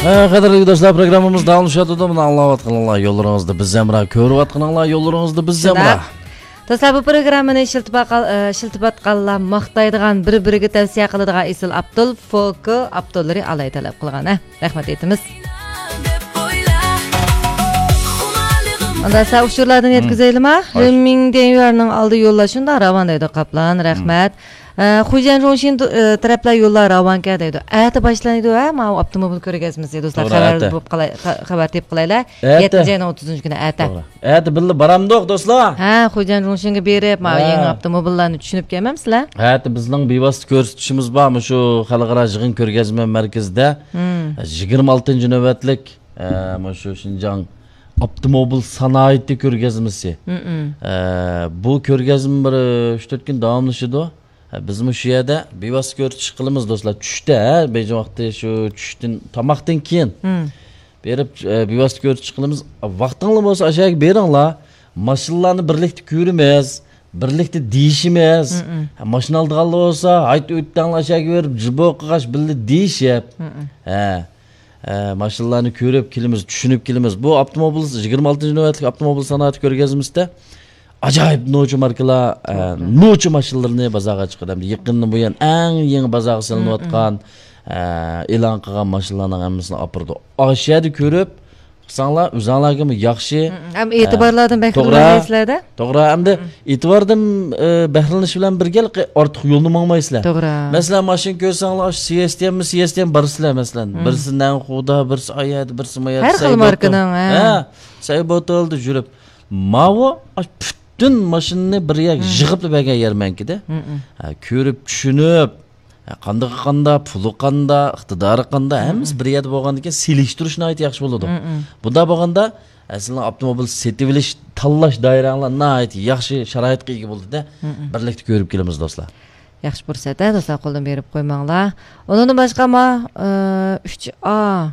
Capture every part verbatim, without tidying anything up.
قەدىرلىك دوستلار، پروگراممىمىز داۋاملىشىۋاتىدۇ. مانا ئاڭلاۋاتقىنىڭلار يوللىرىڭىزدا بىز ھەمراھ، كۆرۈۋاتقىنىڭلار يوللىرىڭىزدا بىز ھەمراھ. شۇنداق. دوستلار، بۇ پروگراممىنى ئىشلىتىۋاتقان، ئە، ئىشلىتىۋاتقانلار ماختايدىغان، بىر-بىرىگە تەۋسىيە قىلىدىغان ئېسىل ئاپتول، فوكو ئاپتوللىرى ئالاھىدە تەلەپ قىلغان، ھە؟ رەھمەت ئېيتىمىز. ئاندا سەن ئۇچۇرلاردىن يەتكۈزەيلىما؟ ھاي. رېنمىڭدېن يۈەننىڭ ئالدى يوللار شۇنداق راۋان دەيدۇ، قاپلان. رەھمەت. ئە، خۇجيەن جۇڭشىن، ئە، تەرەپلەر يوللار راۋانكەن دەيدۇ. ئەتە باشلىنىدۇ، ھە، ماۋۇ ئاپتوموبىل كۆرگەزمىسى، دوستلار. توغرا، خەۋەر ئەتە. بوپ قالاي-، خە-، خەۋەر تېپىپ قالايلى. ئەتە. يەتتىنچى ئاينىڭ ئوتتۇزىنچى كۈنى ئەتە. توغرا. ئەتە بىللە بارامدۇق، دوستلار؟ ھە، خۇجيەن جۇڭشىنگە بېرىپ، ماۋۇ ھە. يېڭى ئاپتوموبىللارنى چۈشىنىپ كەلمەمسىلەر؟ ئەتە بىزنىڭ بىۋاسىتە كۆرسىتىشىمىز بار، مۇشۇ خەلقئارا يىغىن كۆرگەزمە مەركىزىدە. مم. يىگىرمە ئالتىنچى نۆۋەتلىك، ئە، مۇشۇ شىنجاڭ ئاپتوموبىل سانائىتى كۆرگەزمىسى. مم. ئە، بۇ كۆرگەزمە بىر ئۈچ تۆت كۈن داۋاملىشىدۇ. ھە، بىزمۇ شۇ يەردە بىۋاسىتە كۆرۈتۈش قىلىمىز، دوستلار. چۈشتە، ھە، بېيجىڭ ۋاقتى شۇ چۈشتىن، تاماقتىن كېيىن مم. بېرىپ، ئە، بىۋاسىتە كۆرۈتۈش قىلىمىز. ۋاقتىڭلار بولسا، ئاشۇ يەرگە بېرىڭلار. ماشىنىلارنى بىرلىكتە كۆرىمىز، بىرلىكتە دېيىشىمىز. مم. ھە، ماشىنا ئالىدىغانلار بولسا، ھايت ئۆتتەڭلار ئاشۇ يەرگە بېرىپ، جىبو قىلغاچ بىللە دېيىشىپ. مم. ھە. ئە، ماشىنىلارنى كۆرۈپ كېلىمىز، چۈشىنىپ كېلىمىز. بۇ ئاپتوموبىل، يىگىرمە ئالتىنچى نۆۋەتلىك ئاپتوموبىل سانائىتى كۆرگەزمىسىدە ئاجايىپ نوچى ماركىلار، ئە، نوچى ماشىنىلىرىنى بازارغا چىقىرىدۇ. ھەمدە يېقىندىن بۇيان ئەڭ يېڭى بازارغا سېلىنىۋاتقان، ئە، ئېلان قىلغان ماشىنىلارنىڭ ھەممىسىنى ئاپىرىدۇ. ئاشۇ يەردە كۆرۈپ، قىلساڭلار، ئۆزۈڭلارغىمۇ ياخشى. ھەم ئە، ئېتىبارلاردىن بەھرىلىنەلەيسىلەردە. توغرا، ھەمدە ئېتىباردىن، ئە، بەھرىلىنىش بىلەن بىرگە ئارتۇق يولنى ماڭمايسىلەر. توغرا. مەسىلەن، ماشىنا كۆرسەڭلار، ئاشۇ سىيەستىيەنمۇ، سىيەستىيەن بارىسىلەر، مەسىلەن. بىرسى نەنخۇدا، بىرسى ئايەردە، بىرسى مايەردە. ھەر خىل ماركىنىڭ، ھە. ھە، سەيبوتولدا يۈرۈپ. ماۋۇ، ئاشۇ پۈتۈن ماشىنىنى بىر يەرگە يىغىپلا بەرگەن يەرمەنكىدە. ھە، كۆرۈپ، چۈشىنىپ، ھە، قاندىقى قاندا، پۇلى قاندا، ئىقتىدارى قاندا، ھەممىسى بىر يەردە بولغاندىن كېيىن سېلىشتۇرۇش ناھايىتى ياخشى بولىدۇ. بۇنداق بولغاندا، ئە، سىلەرنىڭ ئاپتوموبىل سېتىۋېلىش، تاللاش دائىرەڭلار ناھايىتى ياخشى شارائىتقا ئىگە بولىدۇ-دە. بىرلىكتە كۆرۈپ كېلىمىز، دوستلار. ياخشى پۇرسەت، ھە، دوستلار، قولدىن بېرىپ قويماڭلار. ئۇنىڭدىن باشقا، ما، ئە، ئۈچ ئا،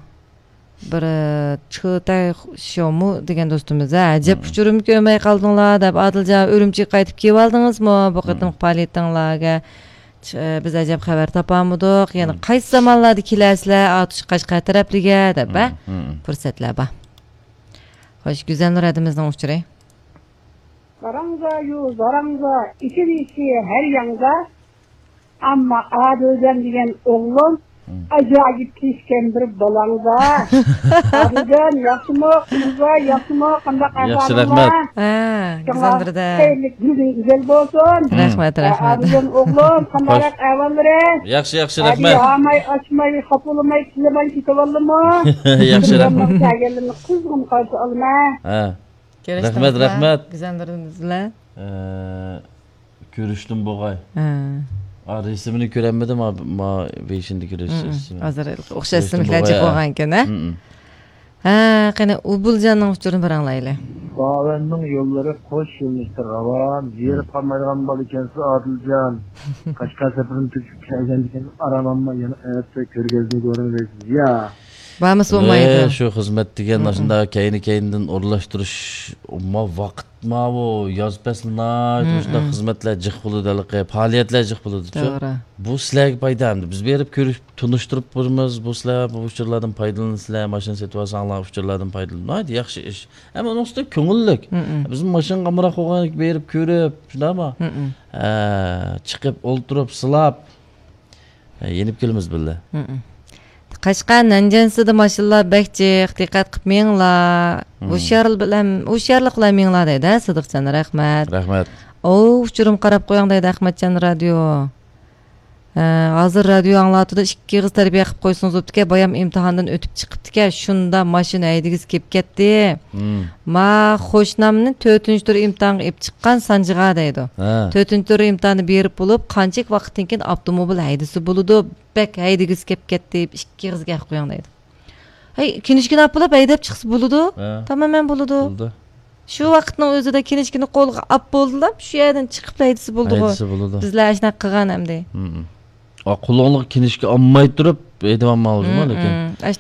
بىر، ئە، چىتاي شيومۇ دېگەن دوستىمىز، ھە، ئەجەب ئۇچۇرۇم كۆرمەي قالدىڭلار دەپ، ئادىلجان، ئۈرۈمچىگە قايتىپ كېلىۋالدىڭىزمۇ؟ بۇ قېتىمقى پائالىيىتىڭلارغا، ئە، بىز ئەجەب خەۋەر تاپالمىدۇق. يەنە قايسى زامانلاردا كېلەرسىلەر، ئاتۇش قەشقەر تەرەپلىگە دەپ، ھە؟ پۇرسەتلەر بار. خوش، گۈزەلنۇر ھەدىمىزنىڭ ئۇچۇرى. زاراڭزا يۇ، زاراڭزا، ئېچىل ئىشى ھەر ياڭزا. ئەمما ئادىلجان دېگەن ئوغلۇم ئاجايىپ كېسكەن بىر بالاڭزا. ئادىلجان، ياخشىمۇ، قىزىمزا، ياخشىمۇ، قانداق ئەھۋالىڭلار؟ ياخشى، رەھمەت. ھە، گۈزەل بىردە. خەيرلىك كۈنىڭىز گۈزەل بولسۇن. رەھمەت، رەھمەت. ئادىلجان ئوغلۇم، قانداق ئەھۋاللىرى؟ ياخشى، ياخشى، رەھمەت. ھاماي، ئاچماي، خاپىلىماي، كىلىماي كېتىۋالدىمۇ؟ ياخشى، رەھمەت. كەلگەنلىرىنى قىزغىن قارشى ئالىمەن. ھە. رەھمەت، رەھمەت. گۈزەللىرىمىز بىلەن. ئە، كۆرۈشتۈم بوغاي. ھە. ئا، رەسىمىنى كۆرەلمىدىم، ما، ما بېشىندىكى رەسىمى. ھازىر ئوخشاش ئىسىملىكلەر جىق بولغانكەن، ھە؟ ھە، قېنى، ئۇبۇلجاننىڭ ئۇچۇرىنى بىر ئاڭلايلى. باۋەننىڭ يوللىرى قوش يۆنىلىشتە راۋان، زېرىپ قالمايدىغان بالا ئىكەنسىز، ئادىلجان. قەشقەر سەپىرىدىن تۈگىتىپ كەلگەندىكىن ئارام ئالماي يەنە ئەتە كۆرگەزمىگە بارىمىز دەيسىز. يا. بارمىسا بولمايدۇ. ئە، شۇ خىزمەت دېگەن ئاشۇنداق كەينى-كەينىدىن ئورۇنلاشتۇرۇش، ما ۋاقىت، ماۋۇ ياز پەسلى ناھايىتى مۇشۇنداق خىزمەتلەر جىق بولىدۇ ھېلىقى، پائالىيەتلەر جىق بولىدۇچۇ. توغرا. بۇ سىلەرگە پايدا ئەمدى. بىز بېرىپ كۆرۈپ، تونۇشتۇرۇپ بېرىمىز. بۇ سىلەر بۇ ئۇچۇرلاردىن پايدىلىنىسىلەر، ماشىنا سېتىۋالساڭلار ئۇچۇرلاردىن پايدىلىنىڭ. ناھايىتى ياخشى ئىش. ئەمما ئۇنىڭ ئۈستىدە كۆڭۈللۈك. بىزمۇ ماشىنىغا ئامراق بولغان بېرىپ كۆرۈپ، شۇنداقمۇ؟ ھە، چىقىپ ئولتۇرۇپ، سىلاپ، ھە، يېنىپ كېلىمىز بىللە. قەشقەر نەنجىڭسىدە ماشىنىلار بەك جىق، دىققەت قىلىپ مېڭىڭلار. ھۇشيار بىلەن، ھۇشيارلىق بىلەن مېڭىڭلار دەيدۇ، ھە، سىدىقجان، رەھمەت. رەھمەت. ئوۋ، ئۇچۇرۇم قاراپ قويۇڭ دەيدۇ، ئەخمەتجان رادىيو. ھە، ھازىر رادىيو ئاڭلاتىدۇ، ئىككى ئېغىز تەربىيە قىلىپ قويسىڭىز بوپتىكەن، بايام ئىمتىھاندىن ئۆتۈپ چىقىپتىكەن، شۇندا ماشىنا ھەيدىگۈسى كېلىپ كەتتى. ما خوشنامنى تۆتىنچى تۈر ئىمتىھانغا ئېلىپ چىققان سانجىغا دەيدۇ. ھە. تۆتىنچى تۈر ئىمتىھانى بېرىپ بولۇپ، قانچىلىك ۋاقىتتىن كېيىن ئاپتوموبىل ھەيدىسە بولىدۇ، بەك ھەيدىگۈسى كېلىپ كەتتى، ئىككى ئېغىز گەپ قويۇڭ دەيدۇ. ھەي، كىنىشكىنى ئاپ بولۇپ ھەيدەپ چىقسا بولىدۇ. ھە. تامامەن بولىدۇ. بولىدۇ. شۇ ۋاقىتنىڭ ئۆزىدە كىنىشكىنى قولىغا ئاپ بولدىلا، شۇ يەردىن چىقىپلا ھەيدىسە بولىدىغۇ. ھەيدىسە بولىدۇ. بىزلەر ئاشۇنداق قىلغان ئەمدى. ھىم. ئا، قولۇڭلۇق كىنىشكا ئالماي تۇرۇپ ھەيدىۋالماڭلار جۇمۇ، لېكىن. ئاشۇ